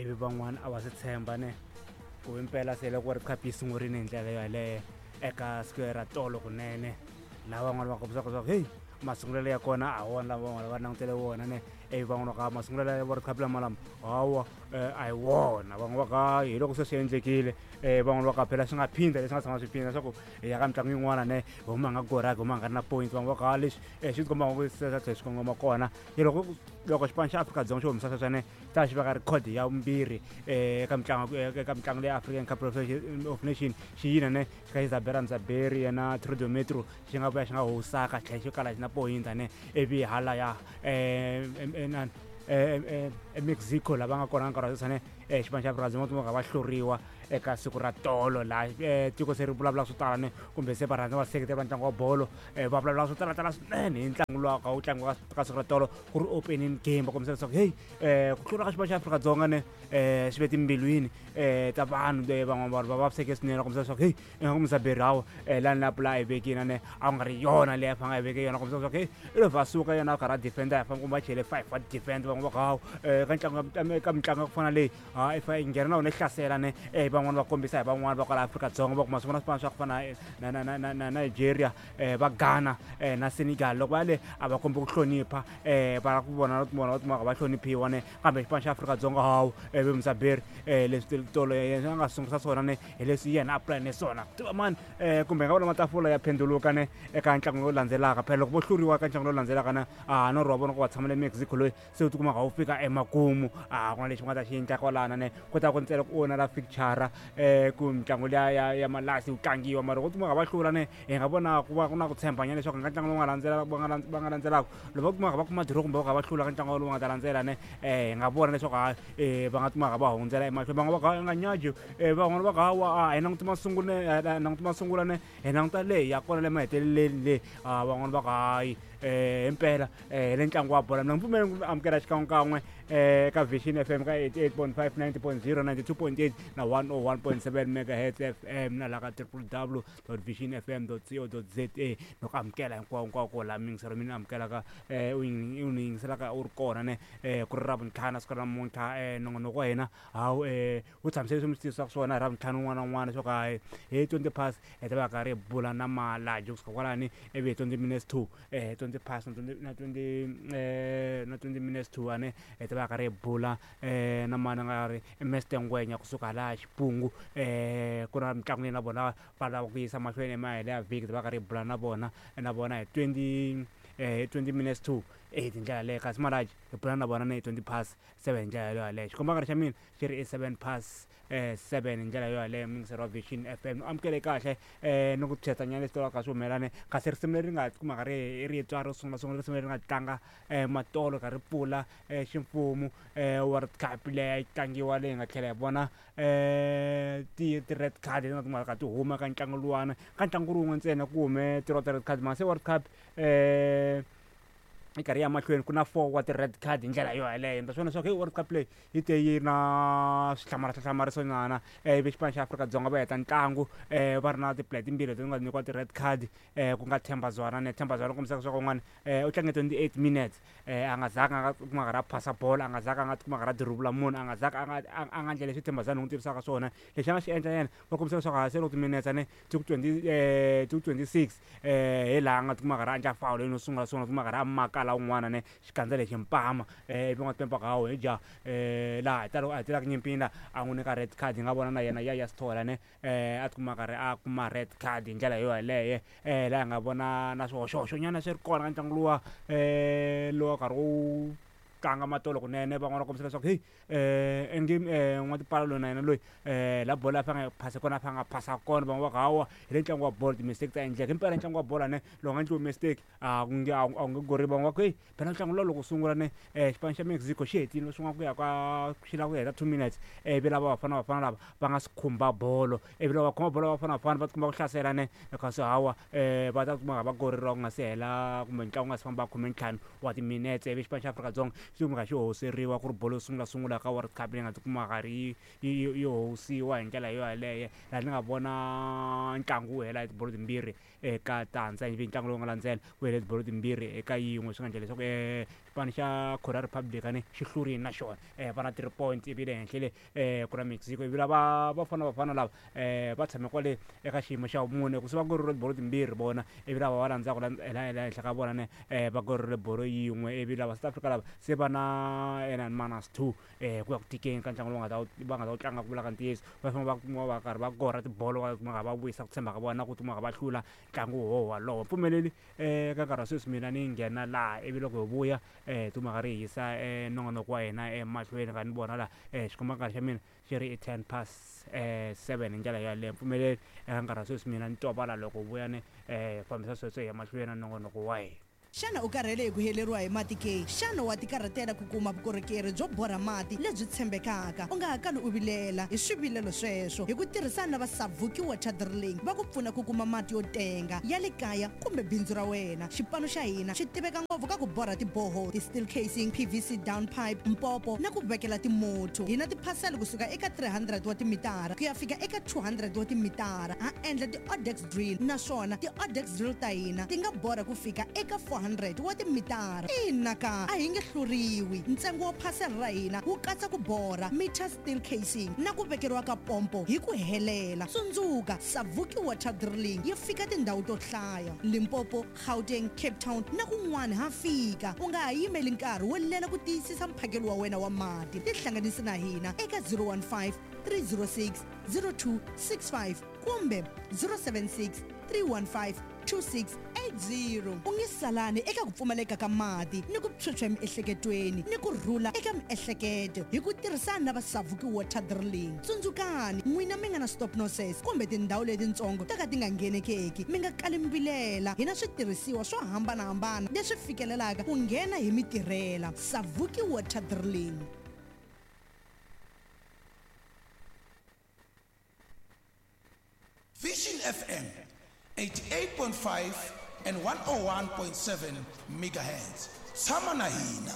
Ivi van'wana a va swi tshemba ne ku impela se loko World Cup yi sungurile hi ndlela yoyaleyo eka siku ra tolo kunene, laha van'wana va kombisaka leswaku heyi, masungulelo ya kona a wona lama van'wana va langutele wona ne. Ivi van'wana va ka masungulelo ya World Cup lama lama hawa, a hi wona. Van'wana va ka hi loko se swi endlekile, van'wana va ka phela swi nga phindha leswi nga tshama swi phindha, leswaku hi ya ka mitlangu yin'wana ne hi huma hi nga goraki, huma hi nga ri na point. Van'wana va ka leswi swi tikomba ngo se swa tlhela swi kongoma kona. Hi loko xipano xa Afrika-Dzonga xo humesa sweswo ne, ta xi veka record ya vumbirhi eka mitlangu leyi African Cup of Nation xi yina ne, xi kha xi Zabera Mzaberi yena Trudo Metro, xi nga vuya xi nga howusaka, xi tlhela xi kala xi na pointa ne. Ivi hala ya inani eMexico lava nga kona nkarhi wa sweswi ne, xipano xa Afrika-Dzonga va va hluriwa eka siku ra tolo, laha tiko se ri vulavula swo tala ne, kumbe se varhandza vaseketeri va ntlangu wa bolo va vulavula swo talatala swinene hi ntlangu lowu ka wu tlangiwa ka siku ra tolo, ku ri opening game. Va kombisa leswaku heyi, ku hlula ka xipano xa Afrika-Dzonga ne swi ve timbilwini ta vanhu. Van'wana vanhu va vaviseke swinene, va kombisa leswaku heyi, ingaku Muzaberi hawa, lani la pula a yi vekile ne, a ku nga ri yona leyi a fanele a yi veke yona. Kombisa leswaku heyi, i lo vha suka yena a karhi a defender, ya famba kumbe a chele five wa defender. Van'wana va ku hawu, ka ntlangu, ka mitlangu ya ku fana leyi, ha if i nghena na wona hlasela ne. Van'wana va kombisa hi van'wana va kwala Afrika-Dzonga, va kuma swin'wana swipano swa ku fana na Nigeria, va Ghana na Senegal, loko va le a va kombi ku hlonipha, va ku vona vona va kumaka va hloniphiwa ne. Kambe xipano xa Afrika-Dzonga hawu, ve Muzaberi leswi tolo yena a nga sungurisa swona ne, hi leswi yena a pulane swona. Tiva mani, kumbe nga vona matafula ya phenduluka ne eka ntlangu lowu landzelaka. Phela loko vo hluriwa eka ntlangu lowu landzelaka na a norho wa vona ku va tshamela Mexico loyi se u tikumaka wu fika emakumu, a ku na lexi va nga ta xi endla kwalana ne. Ku ta ku ntsena ku onha la fixture, ku mitlangu liya ya malasi wu tlangiwa. Mara loko u kumaka va hlula ne, hi nga vona ku va ku na ku tshembanyana leswaku nga ntlangu lowu nga landzela va nga landzelaka, loko va kumaka va kuma draw kumbe va kha va hlula ka ntlangu lowu nga ta landzela ne, hi nga vona leswaku hayi, va nga kumaka va hundzela emahlweni. Van'wana va ka nga nyaji, van'wana va ka hawa, a hi languti masungulo ne, languti masungulo ne, hi languta leyi ya kona le maheteleleni le. Van'wana va ka hayi, himpela hi le ntlangu wa bolo. Mina pfumeli ku amukela xikan'wekan'we ka Vision FM ka 88.5, 90.0, 92.8 na 101.7 megahertz FM, na laha ka www.visionfm.co.za. Ni ku amukela hinkwawo hinkwako laha miyingiselo mi ni amukelaka, u ni yingiselaka u ri kona ne, ku ri Ravuntlhanu siku ra namuntlha. Nongonoko wa hina hawu wu tshamiseke leswi mi swi tivisaka swona hi Ravuntlhanu un'wana na un'wana, leswaku hayi, hi 20 past hi ta va karhi hi bula na Malaji kusuka kwalani. Ivi hi 20 minutes to, 20 past na 20 na 20 minutes to ane, hi ta va karhi hi bula na mani nga ri Mr Ngwenya kusuka laha Xipungu. Ku na mitlangu leyi na vona va lava ku yisa mahlweni emahelo ya vhiki, ta va karhi hi bula na vona hi 20 20 minutes to 8 hi ndlela leyo. Kasi Malaji hi bula na vona ni hi 20 past 7 hi ndlela yoyaleyo. Xikombankarhi xa mina xi ri i 7 past 7 hi ndlela yo yaleyo. Muyingiseri wa Vision FM, amukele kahle ni ku nyana leswi twalaka swi humelane. Kasi risimu leri nga kumaka ri ri twa ro sungula sungula, risimu leri nga tlanga matolo ka ri pfula ximfumo World Cup leyi yi tlangiwa, leyi nga tlhela hi vona ti red card leti nga kumaka ti huma ka ntlangu luwana. Ka ntlangu wun'we ntsena ku hume ti red card, mara se World Cup yi karhi ya mahlweni ku na four wa ti-red card hi ndlela yo yaleyo. Mi ta swi vona leswaku hey, World Cup leyi yi te yi na swihlamarisa nyana. Ivi xipano xa Afrika-Dzonga va heta ntlangu va ri na ti-player timbirhi leti nga nyikiwa ti-red card, ku nga Themba Zwane ne. Themba Zwane kombisaka leswaku un'wana u tlange 28 minutes, a nga zanga a nga kuma karhi a phasa bolo, a nga zanga a nga tikuma karhi a dirivula munhu, a nga zanga a nga endla leswi Themba Zwane u n'wi tivisaka swona. Lexi a nga xi endla yena, va kombisa leswaku ha se loko timinetse ne ti ku 20, ti ku 26, hi laha a nga tikuma karhi a endla foul no sungula sungula, tikuma karhi a makala un'wana ne xikandza lexi mpama. Ivi va nga hawu hi ja laha hi tala a hi telaka nyimpini la, a n'wi nyika red card. Hi nga vona na yena ya Sithole ne, a tikuma karhi a kuma red card hi ndlela yo yaleyo. Laha hi nga vona na swihoxohoxo nyana swi ri kona ka ntlangu luwa, lowa karhi wu tlanga matolo kunene. Van'wana va kombisa leswaku heyi, ingi n'watipala loyi na yena loyi, la bolo a fanele a phase kona, a fanele a phasa kona. Van'wana va ku hawa, hi le ntlangu wa bolo, ti-mistake ta endleka. Himpela ntlangu wa bolo ne, loko nga endliwi mistake a ku nge a wu nge goriwi. Van'wana va ku heyi, phela ntlangu luwa loko sungula ne, xipano xa Mexico xi hetile swin'wana ku ya ka xi lava ku heta 2 minutes, ivi lava Bafana Bafana lava va nga si khumba bolo. Ivi loko va khoma bolo Bafana Bafana va tikuma ku hlasela ne, kasi hawa, va ta kuma va goreriwa ku nga si hela kumbe ntlangu nga si famba 15 wa timinetse. Ivi xipano xa Afrika-Dzonga xi kumeka xi hoseriwa, ku ri bolo yo sungula sungula ka World Cup leyi nga tikuma karhi yi hosiwa hi ndlela yo yaleyo, laha ni nga vona ntlangu wu hela hi tibolo timbirhi. eka tandza. Ivi ntlangu lowu nga landzela ku hele tibolo timbirhi eka yin'we, swi nga endla leswaku xipano xa Korea Republic ne xi hlurile na xona, va na 3 points. Ivi le henhla le ku na Mexico, ivi lava Bafana Bafana lava va tshame kwale eka xiyimo xa vumune ku se va korile tibolo timbirhi vona, ivi lava va landzaka la henhla ka vona ne va korile bolo yin'we. Ivi lava South Africa lava se va na ena minus 2 ku ya ku tikeni ka ntlangu lowu nga ta va nga ta wu tlanga. Ku vula ka ntiyiso, va fanele va kuma va karhi va kora tibolo, va kuma va vuyisa ku tshemba ka vona, ku kuma va hlula ntlangu wo wolowo. Pfumeleli ka nkarhi wa sweswi mina ni nghena laha, ivi loko hi vuya timhaka ri hisa nongonoko wa hina emahlweni. Ka ni vona laha xikomba nkarhi xa mina xi ri i 7:10 hi ndlela yaleyo. Pfumeleli eka nkarhi wa sweswi mina ni tovala, loko vuya ni fambisa sweswo hi ya mahlweni na nongonoko wa hina. Xana u karhele hi ku heleriwa hi mati ke? Xana wa tikarhatela ku kuma vukorhokeri byo borha mati lebyi tshembekaka? U nga ha kali u vilela hi swivilelo sweswo. Hi ku tirhisana na va Savuki Water Drilling, va ku pfuna ku kuma mati yo tenga ya le kaya kumbe bindzu ra wena. Xipano xa hina xi tiveka ngopfu ka ku borha tiboho, ti-steel casing, PVC down pipe, mpopo na ku vekela timotho. Hi na tiphasela kusuka eka 300 wa timitara ku ya fika eka 200 wa timitara. Ha endla ti-odex drill, naswona ti-odex drill ta hina ti nga borha ku fika eka 400 wa timitara. Ina ka, a hi nge hluriwi. Ntsengo wa phasela ra hina wu katsa ku borha, meter steel casing na ku vekeriwa ka pompo hi ku helela. Tsundzuka, Savuki Water Drilling yi fika tindhawu to hlaya: Limpopo, Gauteng, Cape Town na kun'wana ha fika. U nga ha yimeli nkarhi wo lela ku tiyisisa mphakelo wa wena wa mati. Tihlanganisi na hina eka 015 306 0265 kumbe 076 315 2680. U nge salani eka ku pfumaleka ka mati ni ku phyuphya emiehleketweni ni ku rhula eka miehleketo hi ku tirhisana na va Savuki Water Drilling. Tsundzukani, n'wina mi nga na stop nonsense kumbe tindhawu letitsongo to ka ti nga nghenekeki, mi nga kali mi vilela. Hi na switirhisiwa swo hambanahambana leswi fikelelaka ku nghena hi mi tirhela. Savuki Water Drilling. Vision FM 88.5 and 101.7 megahertz. Tshama na hina.